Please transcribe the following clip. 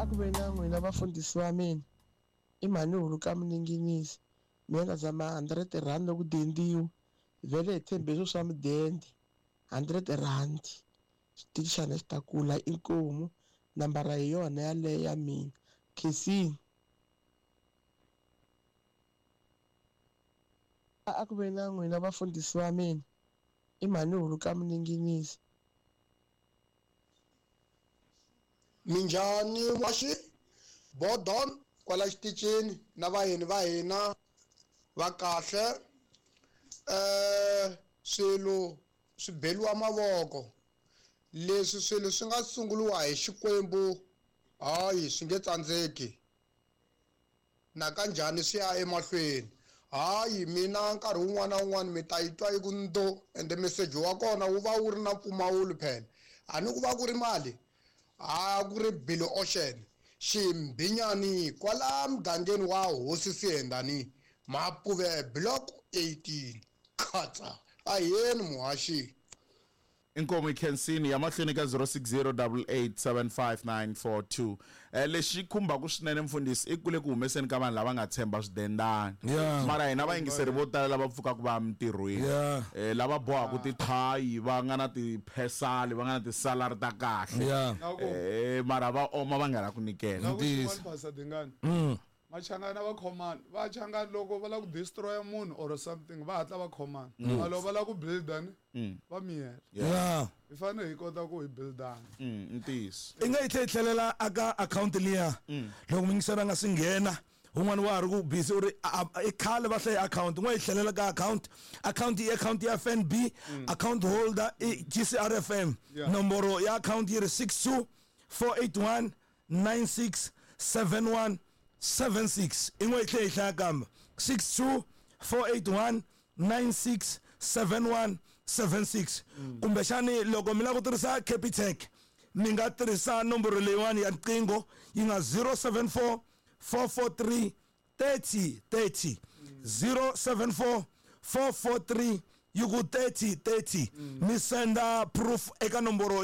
ku ve na n'wina vafundhisi va mina. I mhani hulu ka mininginisi. Mina na zama 100 rand loko dendiwa. Vhele hi tshembe swo swa mudende. 100 rand. Xitichi xa hina xi ta kula inkomu. Nambara hi yona yaleyo ya mina. Khensini. A ku ve na n'wina vafundhisi va mina. I mhani hulu ka mininginisi. Minjhani waxi Bodon kwala xitichini na vayeni va hina va kahle swilo swi beliwa mavoko leswi swilo swi nga sunguriwa hi Xikwembu hayi swi nge tsandzeki na kanjhani swi ya emahlweni hayi mina nkarhi wun'wana na wun'wana mi ta yi twa yi ku ndo ende meseji wa kona wu va wu ri na mpfumawulo phela a ni ku va ku ri mali a ku ri Billy Ocean Ximbinyani kwala mugangeni wa Hosi Sihendani Mapuve block 18 khatsa aheni muhaxi. Inkomu Khensini ya mahlweni ka 0608875942. Lexi khumbaku swinene mfundhisi i ku le ku humeseni ka vanhu lava nga tshemba swidendana. Mara hina vayingiseri vo tala lava pfukaka va ya mintirhweni. Lava bohaka tithayi va nga na tiphesali va nga na tisalari ta kahle. Mara va oma va nga la ku nyikela. Na ku xin'wana Pastor Dingani. Machangani a va khomani. Vachangani loko va lava ku destroy munhu or something va hatla va khomana. Mara loko va lava ku builder ni va miyela. Hi fanele hi kota ku hi buildana. Ntiyiso. I nga yi tlhe yi tlhelela aka akhawunti liya loko muyingiseri a nga si nghena un'wana wa ha ri ku busy u ri i khale va hlaye akhawunti n'wa yi tlhelela ka akhawunti akhawunti i akhawunti ya FNB account holder i GCRFM nomboro ya akhawunti yi ri 62 481 96 71 76 i n'we yi tlhe yi hlaya kambe 62 481 96 71 76 kumbexani loko mi lava ku tirhisa Capitec mi nga tirhisa nomboro leyiwani ya riqingho yi nga 074 443 30 30 074 443 yi ku 30 30 mi senda proof eka nomboro.